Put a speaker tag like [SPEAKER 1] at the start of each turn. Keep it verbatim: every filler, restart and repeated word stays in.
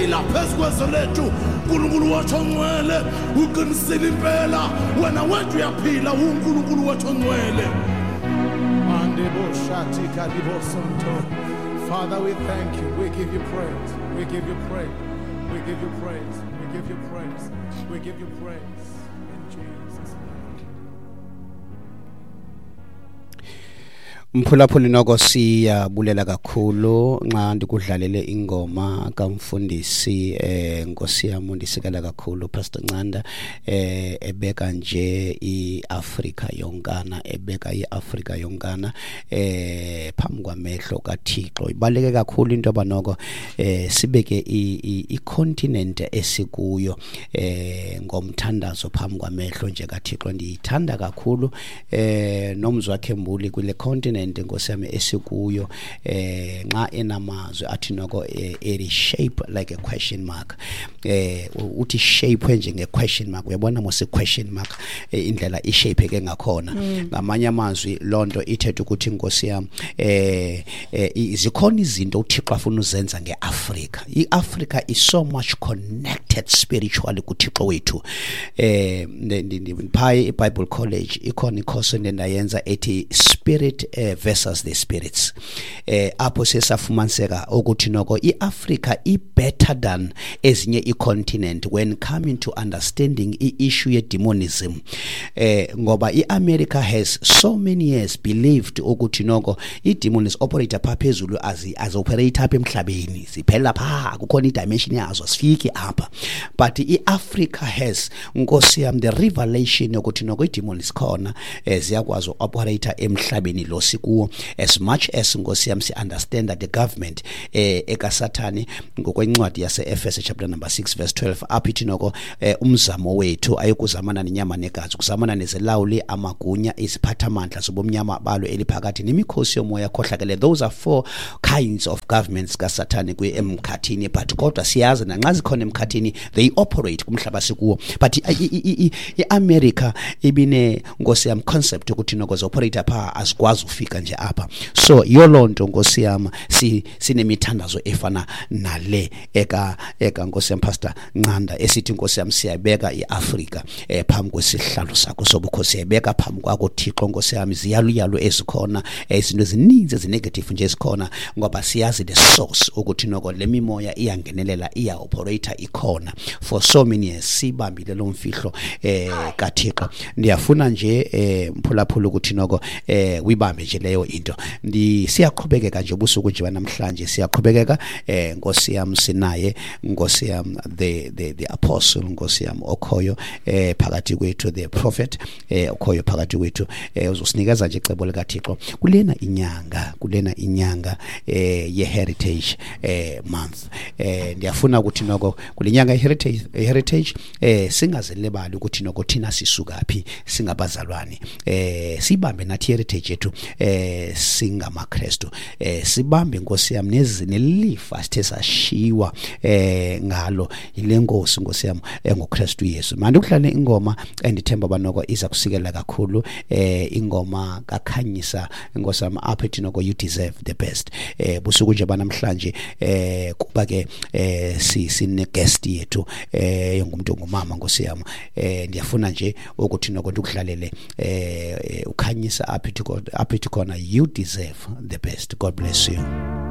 [SPEAKER 1] Uyaphila phezu kwezwe lethu. uNkulunkulu wethu ongcwele, uqinisile impela. Wena wethu uyaphila, uNkulunkulu wethu ongcwele.
[SPEAKER 2] Father, we thank you. We give you praise. We give you praise. We give you praise. We give you praise. We give you praise. In Jesus' name.
[SPEAKER 3] Mphulaphuli noko siyabulela kakhulu nxa ndikudlalele ingoma kamfundisi eh Nkosi yami ndisikela kakhulu Pastor Ncanda eh ebeka nje iAfrika yonkana ebeka iAfrika yonkana eh phambi kwamehlo kaThixo. Ibaleke kakhulu into abanoko eh sibeke icontinent esikuyo eh ngomthandazo phambi kwamehlo nje kaThixo. Ndiyithanda kakhulu eh nomzwa wakhe Mbuli kule continent Nkosi yami esikuyo eh nxa enamazwi athi noko eri shape like a question mark eh uthi shape nje nge question mark. Uyabona mose question mark indlela i shape ke ngakhona. Ngamanye amazwi lonto ithethe ukuthi Nkosi yami eh izikhona izinto uThixo afuna uzenza ngeAfrika. iAfrica is so much connected spiritually kuThixo wethu. Eh phi iBible College ikhona icourse endayenza ethi spirit versus the spirits eh apho sesafumaniseka ukuthi noko iAfrica i better than ezinye icontinent when coming to understanding i-issue ye demonism eh ngoba iAmerica has so many years believed ukuthi noko i-demons operate apha phezulu azi as operate apha emhlabeni siphela pha kukhona i-dimension yazo sifike apha, but iAfrica has Nkosi yami the revelation yokuthi noko i-demons khona ziyakwazi uoperate emhlabeni lo sikuwo. As much as Nkosi yami si understand that the government eh ekaSathane ngokwencwadi yase Efese chapter number six verse twelve apho ithi noko umzamo wethu ayikuzamana nenyama negazi, kuzamana nezilawuli, amagunya, iziphathamandla zobumnyama balo eliphakathi nemikhosi yomoya khohlakele. Those are four kinds of governments kaSathane kwi emkhathini, but kodwa siyazi nanxa zikhona emkhathini they operate kumhlaba sikuwo. But iAmerica ibine Nkosi yami concept ukuthi noko zoperate pha azikwazi ufika nje apha. So yolonto Nkosi yami si sinemithandazo efana nale eka eka Nkosi yami Pastor Ncanda esithi Nkosi yami siyabeka iAfrika eh phambi kwesihlalo sakho sobukhosi, siyabeka phambi kwakho Thixo Nkosi yami. Ziyaluyalo ezikhona izinto ezininzi ezinegative nje ezikhona ngoba siyazi the source ukuthi noko le mimoya iyangenelela iya operator ikhona for so many years sibambile lo mfihlo eh kaThixo. Ndiyafuna nje eh mphulaphula ukuthi noko eh uyibambe nje leyo into. Ndi siyaqhubekeka nje ubusuku nje namhlanje siyaqhubekeka eh Nkosi yami sinaye Nkosi yami the the the apostle Nkosi yami okhoyo eh phakathi kwethu, the prophet eh okhoyo phakathi kwethu eh uzosinikeza nje icebo likaThixo kulena inyanga kulena inyanga eh ye heritage eh month. Eh ndiyafuna ukuthi noko kulenyanga ye heritage heritage eh singazelebali ukuthi noko thina sisuka phi singabazalwane eh sibambe nathi heritage yethu eh singamaKristu eh sibambe Nkosi yami nelifa sithe sashiwa eh ngalo ile Nkosi Nkosi yami engoKristu Yesu. Manje ukudlala ingoma endithemba banoko iza kusikela kakhulu eh ingoma kaKhanyisa Nkosi yami apha ethi noko you deserve the best. Eh busuku nje banamhlanje eh kuba ke eh sine guest yethu eh ngumuntu ongumama Nkosi yami eh ndiyafuna nje ukuthi noko ndikudlalele eh uKhanyisa apha ethi apha ethi khona you deserve the best. God bless you.